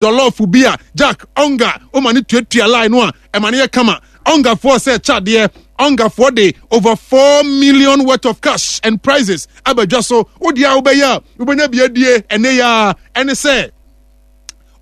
Jollof bi a Jack Onga woma no tuatua line no a ɛma no yɛ kama. Ongafoɔ sɛ kyɛ adeɛ. Ongafoɔ de over 4 million worth of cash and prizes aba dwa so. Wo deɛ a wobɛyɛ a wobɛnya bi adie ɛnɛ yi ara ɛne sɛ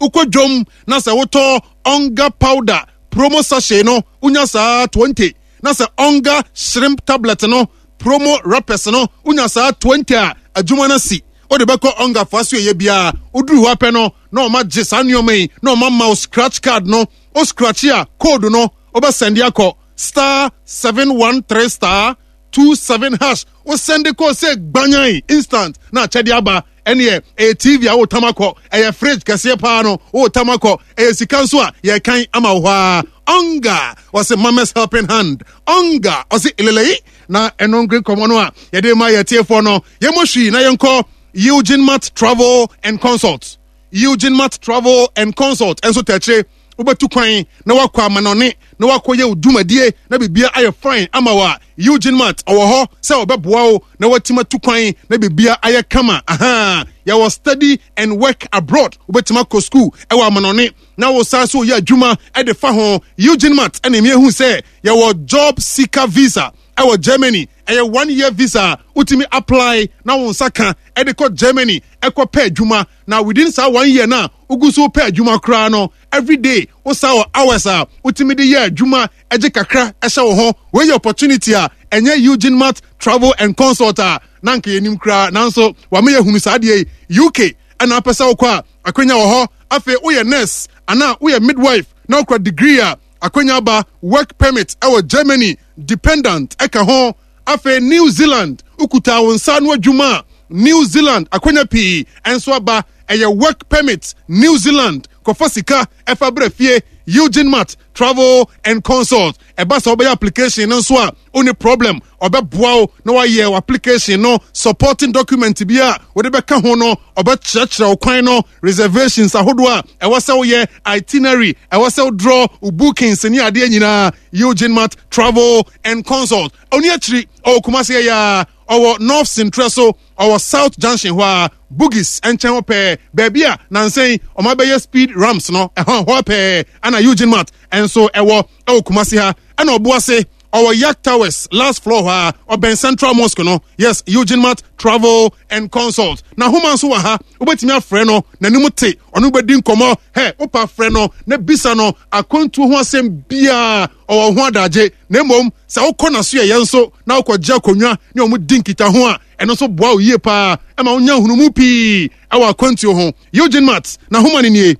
wokɔ dwom na sɛ wotɔ Onga powder promo sachet no wonya saa 20 na sɛ Onga shrimp tablet no promo wrappers no wonya saa 20 a adwuma no asi. Wode bɛkɔ Ongafoɔ asoɛeɛ biara woduru hɔ apɛ no na ɔma gye saa nneɛma yi na ɔma ma wo scratch card no o scratch a code no wobɛ sɛnde akɔ star 713 star 27 hash wo sɛnde kɔ sɛ gbanyan instant na akyɛde aba ɛneɛ ɛyɛ tv a wotam akɔ ɛyɛ fridge kɛseɛ paa no wotam akɔ ɛyɛ sika nso a yɛkan ama wo hɔ a ɔnga ɔse mamas helping hand ɔnga ɔse elelei na ɛno nkre nkɔmmɔ no a yɛde ma yɛtiefoɔ no yɛmmɔ hwii na yɛnkɔ Eugene Mart Travel and Consult. Eugene Mart Travel and Consult nso tɛkyere wobɛtu kwan na wakɔ amanɔne na wakɔyɛ wo dwumadie na biribia ayɛ fine ama wo a Eugene Mart ɔwɔ hɔ sɛ ɔbɛboa wo na watumi atu kwan na biribia ayɛ kama. Aha, yɛwɔ study and work abroad, wobɛtumi akɔ school ɛwɔ amanɔne na wo san so yɛ adwuma ɛde fa ho. Eugene Mart ɛna ɛmi ehu sɛ yɛwɔ job seeker visa ɛwɔ Germany. Ɛyɛ one year visa a wotumi apply na wo nsa ka ɛde kɔ Germany ɛkɔ pɛ adwuma. Na within saa one year na wogu so pɛ adwuma koraa no, every day wo saa wɔ hours a wotumi de yɛ adwuma ɛgye kakra ɛhyɛ wo ho. Wei yɛ opportunity a ɛnyɛ Eugene Mart Travel and Consult a na nka yɛnim koraa, nanso wama yɛhunu saa adeɛ yi. UK ɛna apɛ sɛ wokɔ a akwanya wɔ hɔ. Afei woyɛ nurse anaa woyɛ midwife na wokura degree a akwanya aba. Work permit ɛwɔ Germany, dependent ɛka ho. Afei New Zealand, wokuta wo nsa ano adwuma a, New Zealand akwanya pii ɛnso aba. Ɛyɛ work permit New Zealand, kɔfa sika ɛfa brɛ fie. Eugene Mart Travel and Consult, ɛba sɛ wobɛyɛ application no nso a wonni problem, ɔbɛboa wo na wayɛ wo application no, supporting document bi a wode bɛka ho no ɔbɛkyerɛkyerɛ wo kwan no, reservations ahodoɔ a ɛwɔ sɛ woyɛ, itinerary ɛwɔ sɛ wodraw wo bookings ne adeɛ nyinaa. Eugene Mart Travel and Consult ɔni akyiri, ɔwɔ Kumasi ɛyɛ a ɔwɔ North Sintrɛ so, ɔwɔ South Junction hɔ a Bugis nkyɛn hɔ pɛɛ, baabi a nansɛn ɔma bɛyɛ speed ramps no ɛhɔ hɔ pɛɛ ɛna Eugene Mart nso ɛwɔ ɛwɔ Kumasi ha. Ɛna Ɔboase ɔwɔ Yak Towers last floor hɔ a ɔbɛn Central Mosque no. Yes, Eugene Mart Travel and Consult na homa nso wɔ ha, wobɛtumi afrɛ no n'anim te ɔno bɛdi nkɔmmɔ. Hɛ wopa frɛ no na bisa no akwantuo ho asɛm biara, ɔwɔ ho adagye. Na mmom sɛ wokɔ n'aso yɛyɛ nso na wokɔgye akonnwa ne ɔmo di nkitaho a, ɛno nso boa wo yie paa ɛma wonya nhunumu pii ɛwɔ akwantuo ho. Eugene Mart na homa no nie,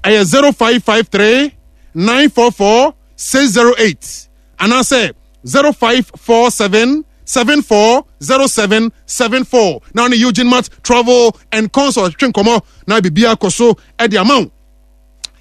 ɛyɛ 0553 944 608 anaasɛ 0547 740774 na ɔne Eugene Mart Travel and Consult twe nkɔmmɔ na biribiara kɔ so de ama wo.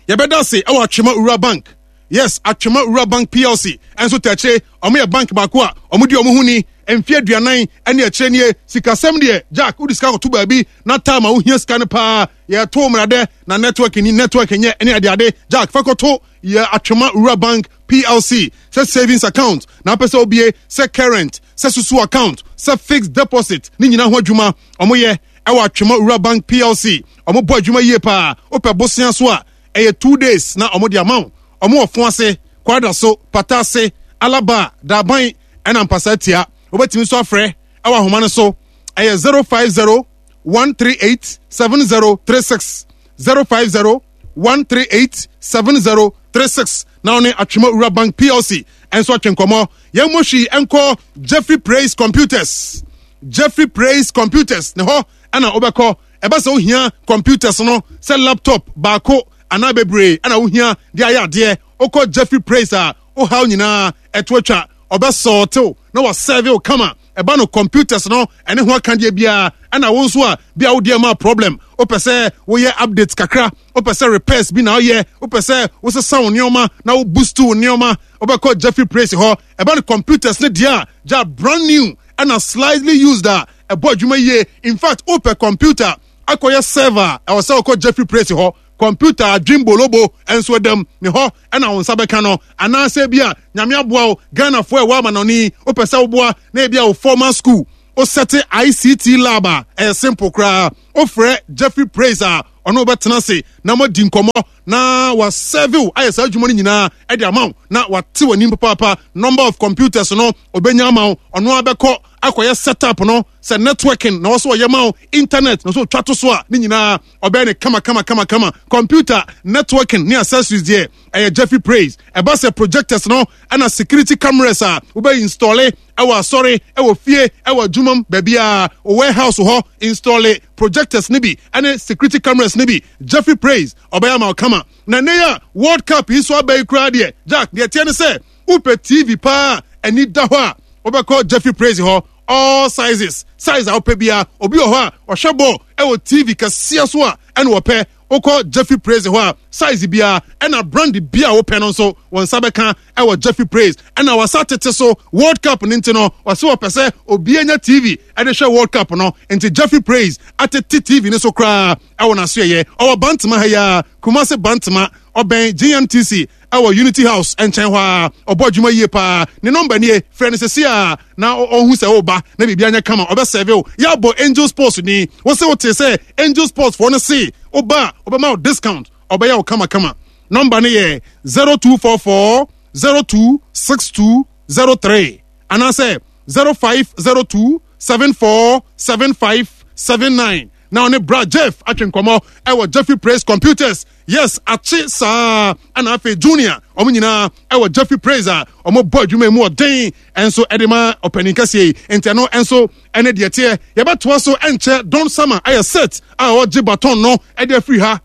Yɛbɛda ase ɛwɔ Atwema Owura Bank. Yes, Atwema Owura Bank PLC ɛnso tɛkyere. Ɔmo yɛ bank baako a ɔmo di ɔmo ho ni mfe 40 ɛne akyire nie. Sikasɛm deɛ, Jack, wode sika kɔto baabi na time a wohia sika no paa yɛto mmeradɛ na network ni network nyɛ ɛne adeade. Jack, fa kɔto yɛ Atwema Owura Bank PLC, sɛ savings account na apɛ sɛ obie, sɛ current, sɛ susu account, sɛ fixed deposit, ne nyinaa ho adwuma ɔmo yɛ ɛwɔ Atwema Owura Bank PLC. Ɔmo bɔ adwuma yie paa. Wopɛ bosea so a ɛyɛ 2 days na ɔmo de ama wo. Ɔmo wɔ fo ase, kwada so, pata ase, alaba, daban ɛna mpasa tia. Wobɛtumi nso afrɛ ɛwɔ ahoma no so, ɛyɛ 050 138 7036, 050 138 7036 na ɔne Atwema Owura Bank PLC ɛnso atwe nkɔmmɔ. Yɛn mo hwii ɛnkɔ Jeffrey Praise Computers. Jeffrey Praise Computers ne hɔ ɛna wobɛkɔ ɛba sɛ wohia computers no, sɛ laptop baako anaa bebree ɛna wohia de ayɛ adeɛ. Wokɔ Jeffrey Praise a, wohaw nyinaa ɛto atwa, ɔbɛsɔɔtew na wasɛve wo kama. Ɛba no computers no ɛne ho akadeɛ biara, ɛna wo nso a bia wo deɛ ma problem, wopɛ sɛ woyɛ update kakra, wopɛ sɛ repairs bi na woyɛ, wopɛ sɛ wosesa wo nneɛma na wo boost wo nneɛma, wobɛkɔ Jeffrey Praise hɔ. Ɛba no computers no deɛ a gya brand new ɛna slightly used a ɛbɔ adwuma yie. In fact, wopɛ computer akɔyɛ server a, ɛwɔ sɛ wokɔ Jeffrey Praise hɔ. Computer adwen bolobo nso ɛdam ne hɔ ɛna wo nsa bɛka no. Anaasɛ bi a Nyame aboa wo, Ghanafoɔ ɛwɔ amanɔne, wopɛ sɛ woboa na ebi a wo formal school wosɛte ICT lab a, ɛyɛ simple koraa. Wofrɛ Jeffrey Praise a, ɔno wobɛtena ase na moadi nkɔmmɔ na wasɛve wo ayɛ saa adwuma no nyinaa de ama wo na wate w'anim papaapa. Number of computers no ɔbɛnya ama wo, ɔno abɛkɔ akɔyɛ setup no, sɛ networking na ɔsɛ ɔyɛ ma wo, internet na ɔsɛ ɔtwa to so a, ne nyinaa ɔbɛyɛ ne kama kama kama kama. Computer networking ne accessories deɛ ɛyɛ Jeffrey Praise. Ɛba sɛ projectors no ɛna security cameras a wobɛ installe ɛwɔ asɔre, ɛwɔ fie, ɛwɔ adwumam, baabiara, warehouse hɔ, installe projectors ne bi ɛne security cameras ne bi, Jeffrey Praise ɔbɛyɛ ama wo kama. Na nnɛ yi a World Cup yi so aba yi koraa deɛ, Jack, deɛ ɛteɛ ne sɛ wopɛ TV paa ani da hɔ a, wobɛkɔ Jeffrey Praise hɔ. All sizes, size a wopɛ biara. Obi wɔ hɔ a ɔhwɛ bɔɔl ɛwɔ TV kɛseɛ so a ɛna ɔpɛ. Wokɔ Jeffrey Praise hɔ a, size biara ɛna brand bi a wopɛ no nso wɔn nsa bɛka ɛwɔ Jeffrey Praise. Ɛna wasa tete so World Cup no nti no, ɔsɛ ɔpɛ sɛ obi anya TV ɛde hwɛ World Cup no nti Jeffrey Praise atete TV no so koraa ɛwɔ n'asoɛyɛ. Ɔwɔ Bantama ha yi ara, Kumasi Bantama, ɔbɛn GMTC ɛwɔ Unity House nkyɛn hɔ ara. Ɔbɔ adwuma yie paa. Ne nɔmba nie, frɛ no sɛsi a na ɔhu sɛ woba na biribi anyɛ kama, ɔbɛsɛve wo. Yɛabɔ Angel Sports ni, wo se wote sɛ Angel Sports foɔ no se woba a ɔbɛma wo discount, ɔbɛyɛ wo kamakama. Nɔmba no yɛ 0244 026203 anaasɛ 0502 747579 na ɔne Bra Jeff atwe nkɔmmɔ ɛwɔ Jeffrey Praise Computers. Yes, akye saa ɛna afei Junior, wɔn nyinaa ɛwɔ Jeffrey Praise a wɔn bɔ adwuma mu ɔden ɛnso ɛde ma ɔpanin kɛseɛ yi. Nti ɛno ɛnso ɛne deɛ teɛ. Yɛbɛtoa so ɛnkyɛ. Don Sama ayɛ set a ɔgye baton no ɛde afiri ha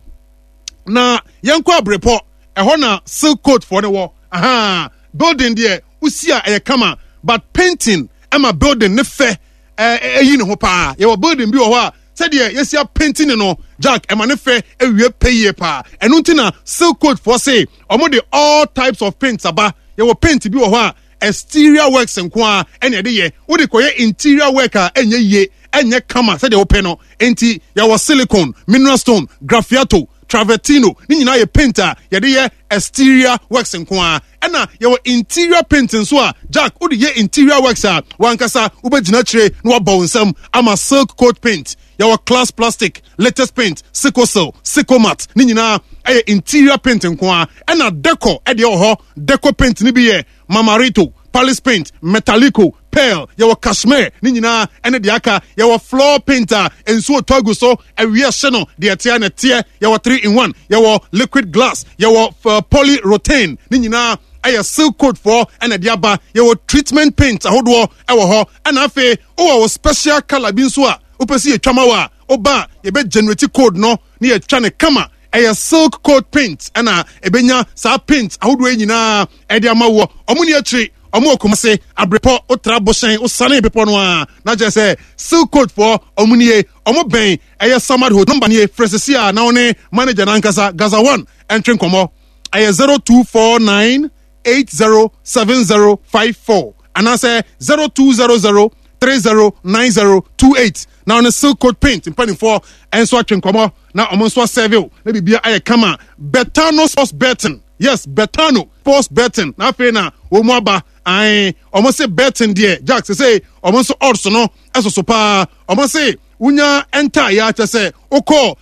na yɛnkɔ abrepɔ. Ɛhɔ na silk coat foɔ no wɔ. Aha building deɛ wosi a ɛyɛ kama, but painting ɛma building ne fɛ ɛyi ne ho paa. Yɛwɔ building bi wɔ hɔ a sɛdeɛ yɛsi apenti ne no, Jack, ɛma ne fɛ ewie pɛ yie paa. Ɛno nti na silk coat foɔ se wɔn de all types of paints aba. Yɛwɔ paint bi wɔ hɔ a exterior works nko ara ɛna ɛde yɛ. Wode kɔyɛ interior work a, ɛnyɛ yie, ɛnyɛ kama sɛdeɛ wopɛ no. Nti yɛwɔ silicone, mineral stone, graffiato, travertino, ne nyinaa yɛ paint a yɛde yɛ exterior works nko ara. Ɛna yɛwɔ interior paint nso a, Jack, wode yɛ interior works a, wankasa wobɛgyina akyire na wabɔ wo nsam ama silk coat paint. Yɛwɔ class plastic, latest paint, sickle, sicklemat, ne nyinaa ɛyɛ interior paint nko ara. Ɛna deco ɛdeɛ wɔ hɔ. Deco paint ne bi yɛ mamarito, palace paint, metallico, pearl, yɛwɔ cashmere, ne nyinaa ɛne deɛ aka. Yɛwɔ floor paint a nsuo tɔ agu so, awia hye no, deɛ ɛteɛ na ɛteɛ. Yɛwɔ 3 in 1, yɛwɔ liquid glass, yɛwɔ polyurethane, ne nyinaa ɛyɛ silk coat foɔ ɛna ɛde aba. Yɛwɔ treatment paint ahodoɔ ɛwɔ hɔ. Ɛna afei wowɔ wo special colour bi nso a wopɛ sɛ yɛtwa ma wo a, woba a yɛbɛ generate code no ne yɛtwa ne kama. Ɛyɛ silk coat paint ɛna ɛbɛnya saa paint ahodoɔ yi nyinaa ɛde ama woɔ. Ɔmo ni akyiri, ɔmo wɔ Kumase Abrepɔ, wotra Bohyɛn, wosane bepɔ no a na kyerɛ sɛ silk coat foɔ ɔmo nie. Ɔmo bɛn ɛyɛ Samad Hotel. Nɔmba nie, frɛ sisi a na ɔne manager n'ankasa Gaza One ɛntwe nkɔmɔ. Ɛyɛ 0249 807054 anaasɛ 0200 309028 na ɔne silk coat paint mpanimfoɔ nso atwe nkɔmɔ na ɔmo nso asɛve na biribia ayɛ kama. Betano Sports Betting, yes, Betano Sports Betting na afei na wɔn mu aba. Ae, ɔmo se betting deɛ, Jack, sɛ ɔmo nso odds no ɛsoso paa. Ɔmo se wonya enter yɛ akyɛ sɛ wokɔ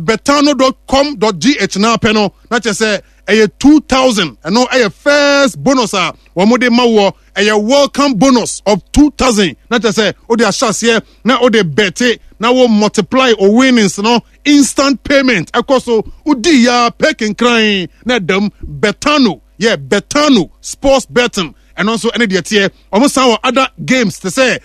betano.com.gh na apɛ no na kyerɛ sɛ ɛyɛ 2000. Ɛno ɛyɛ first bonus a wɔn de ma woɔ. Ɛyɛ welcome bonus of 2000 na kyerɛ sɛ wode ahyɛ aseɛ na wode bɛte na wo multiply o winnings no. Instant payment ɛkɔ so, wodi ya pɛ kenkran na ɛdam. Betano yɛ Betano Sports Betting, ɛno nso ɛne deɛ teɛ. Wɔn san wɔ other games te sɛ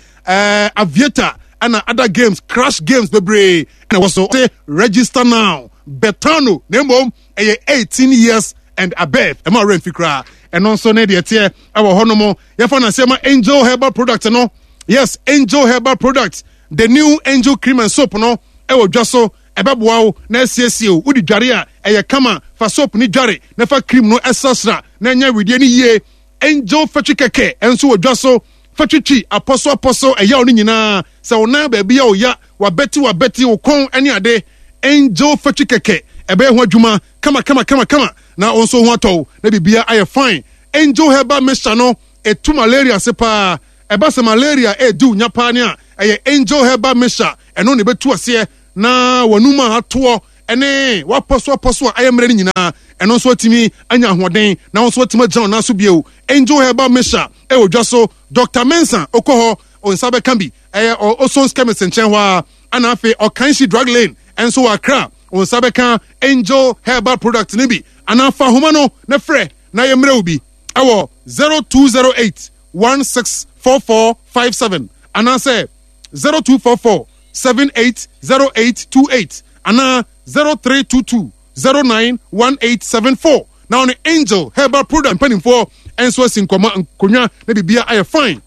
aviator ɛna other games, crash games bebree ɛna ɛwɔ so. Register now, Betano, na mmom ɛyɛ 18 years and above. Ɛma ɔrɛ mfi koraa. Ɛno nso ne deɛ teɛ ɛwɔ hɔ nom. Yɛfa na sɛ ma Angel Herbal Product no. Yes, Angel Herbal Product, the new Angel cream and soap no ɛwɔ dwa so. Ɛbɛboa wo na asiesie wo. Wode dware a, ɛyɛ kama. Fa soap ne dware na fa cream no ɛsrasra na ɛnyɛ wedeɛ no yie. Angel fatwi kɛkɛ ɛnso wɔ dwa so. Fatwitwi apɔso apɔso ɛyaw no nyinaa, sɛ wo nan baabi a ɔya, wabɛti wabɛti wo kɔn ne ade, Angel fatwi kɛkɛ ɛbɛyɛ ho adwuma kama kama kama kama na wo nso ho atɔ wo na biribia ayɛ fine. Angel Herbal Mixture no ɛtu malaria ase paa. Ɛba sɛ malaria ɛredi wo nya paa ne a, ɛyɛ Angel Herbal Mixture, ɛno na ɛbɛtu aseɛ na w'anum a atoɔ. ne wapɔso apɔso a ayɛ mmerɛ no nyinaa, ɛno nso atumi anya ahoɔden na wo nso atumi agyina wo nan so bio. Angel Herbal Mixture ɛwɔ dwa so. Dr. Mensah, wokɔ hɔ, wo nsa bɛka bi. Ɛyɛ Oson's Chemist nkyɛn hɔ ara. Ɛna afei Ɔkanhyi Drug Lane nso wɔ Accra, wo nsa bɛka Angel Herbal product no bi. Anaa fa ahoma no na frɛ na yɛmmerɛ wo bi ɛwɔ 0208 164457 anaasɛ 0244 780828 anaa 0322 091874 na ɔne Angel Herbal product mpanimfoɔ nso asi nkɔmɔ nkonnwa na biribiara ayɛ fine.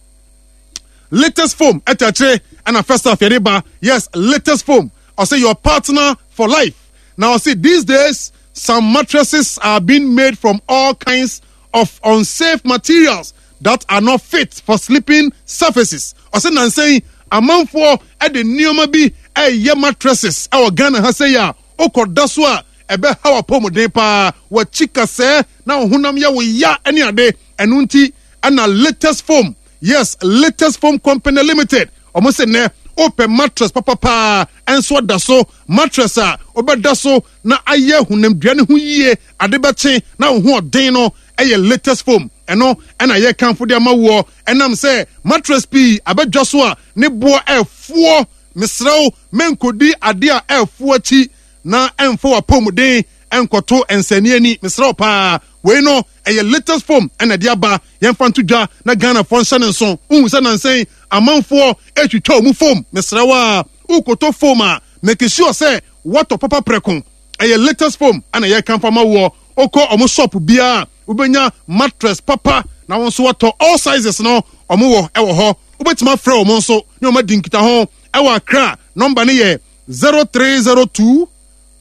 Latest foam ɛtɛ akyire ɛna first half yɛde ba. Yes, latest foam, ɔsɛ your partner for life. Na ɔsɛ these days some mattresses are being made from all kinds of unsafe materials that are not fit for sleeping surfaces. Ɔsɛ nansa yi amanfoɔ ɛde nneɛma bi ɛyɛ mattresses ɛwɔ Ghana ha sɛ yi a wokɔda so a ɛbɛha w'apɔmuden paa, w'akyi kasɛɛ na wo honam yɛ wo ya ne ade. Ɛno nti ɛna Latest Foam, yes, Latest Foam Company Limited, ɔmo sɛ nnɛ wopɛ mattress papapaa ɛnso ada so, mattress a wobɛda so na ayɛ honamdua ne ho yie, ade bɛkye na wo ho ɔden no, ɛyɛ Latest Foam. Ɛno ɛna yɛkamfo de ama woɔ. Ɛnam sɛ mattress pii abɛdwa so a ne boɔ ɛfoɔ, mesrɛ wo, menkɔdi ade a ɛfoɔ akyi na ɛmfa w'apɔmuden ɛnkɔto nsɛnni ani. Mesrɛ wo paa, wei no ɛyɛ Latest Foam ɛna ɛde aba. Yɛmfa nto dwa na Ghanafoɔ nhyɛ ne nso. Wohu sɛ nansɛn amanfoɔ ɛtwitwa ɔmu foam. Mesrɛ wo a wokɔtɔ foam a, make sure sɛ woatɔ papa prɛko. Ɛyɛ Latest Foam ɛna yɛkamfa ma woɔ. Wokɔ ɔmo shop biara, wobɛnya mattress papa na wɔn nso watɔ. All sizes no ɔmo wɔ ɛwɔ hɔ. Wobɛtumi afrɛ wɔn nso ne wɔn adi nkitaho ɛwɔ Accra. Nɔmba no yɛ 0302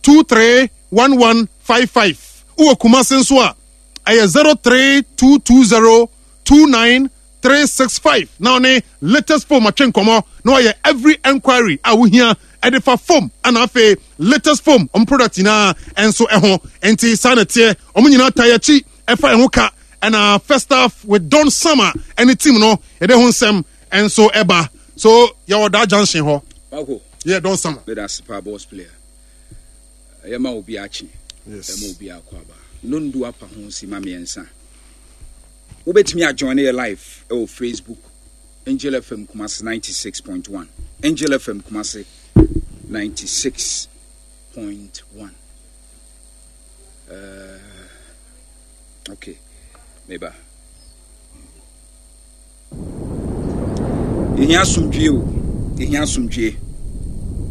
231155. Wowɔ Kumase nso a, ɛyɛ 03220 29365 na ɔne Latest Foam atwe nkɔmmɔ na wayɛ every enquiry a wohia ɛde fa foam ɛna afei Latest Foam ɔmo product nyinaa ɛnso ɛho. Nti saa na ɛteɛ, ɔmo nyinaa ta yɛakyi ɛfa ɛho ka. Ɛna first half with Don Summer ɛne team no, yɛde ho nsɛm ɛnso ɛba so. Yɛwɔ daa junction hɔ. Bako. Yɛ Don Summer. Meda ase paa, boss player. Ɛyɛ ma obi akye. Ɛma obi akɔ aba. Nondu apa ho si ma 3. Wobɛtumi ajoin yɛ live ɛwɔ Facebook, Angel FM Kumasi 96.1. Angel FM Kumasi 96.1. Okay, meba. Yɛhia asomdwie o, yɛhia asomdwie.